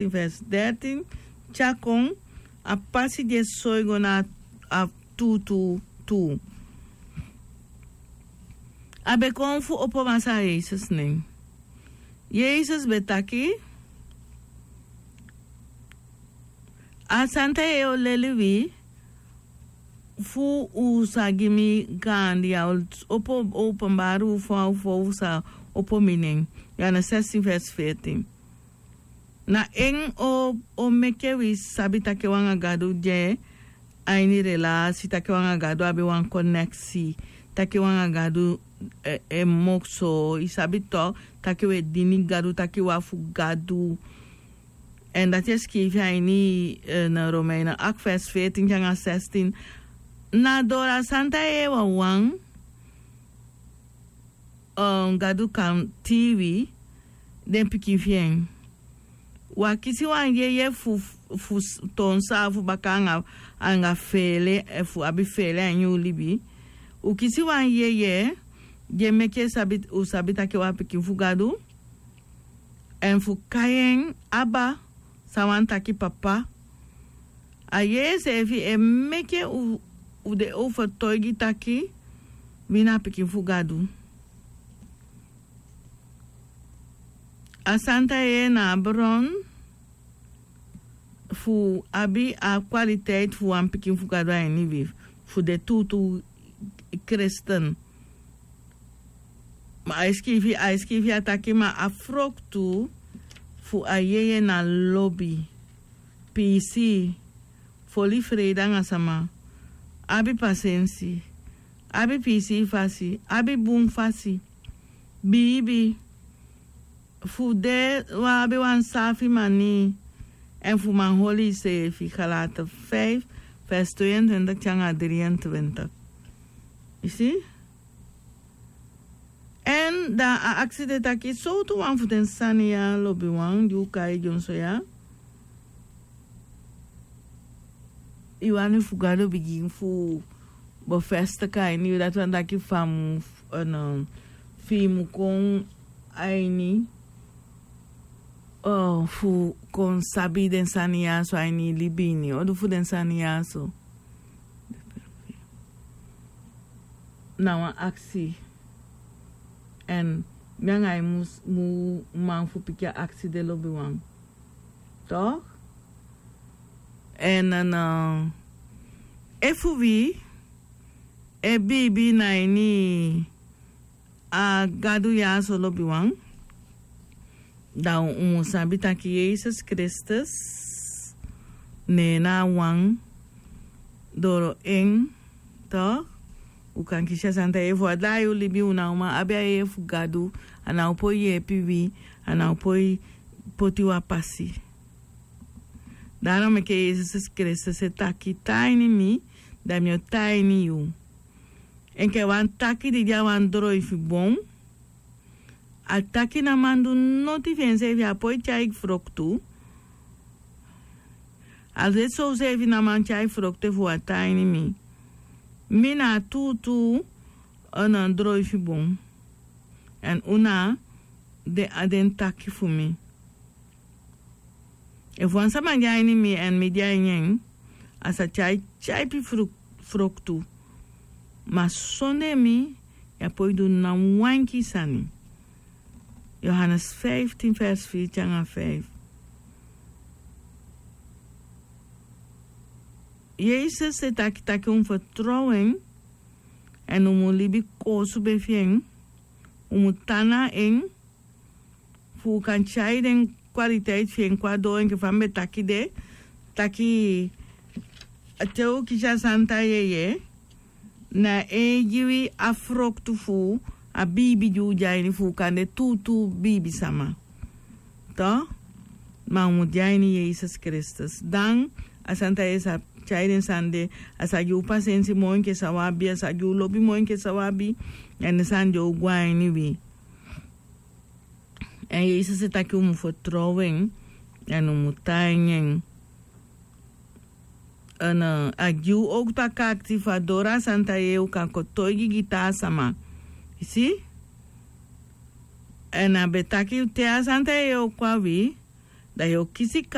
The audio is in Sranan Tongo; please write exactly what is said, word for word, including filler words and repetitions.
Sixteen vers dertien. Tyakon a pasi di e soi go na a tuutuu tuu. A be kon fu opo Masaa Yesus nen. Yesus be taki, a santa yeye o leli wi fu u sa gi mi gaandi, ya o opo, openbari u fa u fa u sa opo mi nen. Ya na sixteen vers veertien. Na en o o meke wi sabi taki wan anga Gadu de a ini relasi, taki wan anga Gadu abi wan koneksi, taki wan anga Gadu e, e mokso, i sabi to, taki we dini Gadu, taki wa fu Gadu. En dati e skifi a ini, eh, na Romeinen acht vers veertien te anga zestien. Na doro a santa yeye wawan, eh, Gadu kan tii wi den pikin fi en. Wi á kisi wan yeye fu, fu s-, toon saafu baka anga, anga feele, eh, fu abi feele a ini u libi. U kisi wan yeye di e meke sabi, u sabi taki wan pikin fu Gadu. En fu kai en Aba, san wani taki Papa. A yeye seefi e meke u, u de overtuigi taki wi na pikin fu Gadu. A santa yeye na a bron fu abi a kwaliteit fu wan pikin fu Gadu a ini wi, fu de tuutuu kristen. Ma a e skifi, a e skifi a taki, ma a froktu fu a yeye na lobi, piisii, foli freide anga sama, abi pasensi, abi piisii fasi, abi bun fasi, biibi, fu de wan abi wan saafi manii, en fu man holi iseefi. Galaten vijf vers tweeëntwintig te anga drieëntwintig. I si? En dan a aksi de taki, sowtu wan fu den sani ya, lobiwan, di u kai dyonso ya, i wani fu Gadu bigin fu bevestig a ini yu, dati wani taki fa mu, eh, no, fi i mu kon a ini, eh, fu kon sabi den sani ya so a ini i libi ini. Odu fu den sani ya so. Na wan aksi. En mi anga i mu, mu man fu piki a aksi de, lobiwan. Toch? En, en, eh, efu wi e biibi na ini a Gadu ya so, lobiwan, dan u mu sabi taki Yesus Kristus, ne na a wan, doro en, toch, u kan kisi a santa yeye. Efu a daai u libi, u ná o man abi a yeye fu Gadu, a ná o poi yeepi wi, a ná o poi poti u a pasi. Daarom meke Yesus Kristus e taki, tan a ini mi, dan mi o tan a ini yu. Enke wan taki di de a wan droi fu bon, a taki ná man du noti fi enseefi, a poi tyai froktu. A de so, useefi ná man tyai froktu efu u á tan a ini mi. Mi na a tuutuu, eh, na droi fu bon. En u na den, a den taki fu mi. Efu wan sama de a ini mi en mi de a ini en, a sa tyai tyaipi fru-, froktu. Ma sondee mi, yu á poi du ná wan enkii sani. Johannes vijftien vers vier te anga vijf. Yesus e taki taki u mu fertrow en, en u mu libi koosube fi en, u mu tan na en, fu u kan tyai den kwaliteit fi en kon a doo, enke fa mi be taki de, taki te u kisi a santa yeye, na en e gi wi a froktu fu a biibi di u de a ini, fu u kan de tuutuu biibisama. Toch? Ma u mu de a ini Yesus Kristus. Dan a santa yeye sa tyai den sani de, a sa gi u pasensi moo enke san u abi, a sa gi u lobi moo enke san u abi, en den sani de o gwe a ini wi. En Yesus e taki u mu fertrow en, en u mu tan a ini en. En, eh, a gi u owktu a kaakiti fu a doro a santa yeye u kan kotoigi gi taa sama. I si? En a be taki te a santa yeye o kon a wi, dan yu o kisi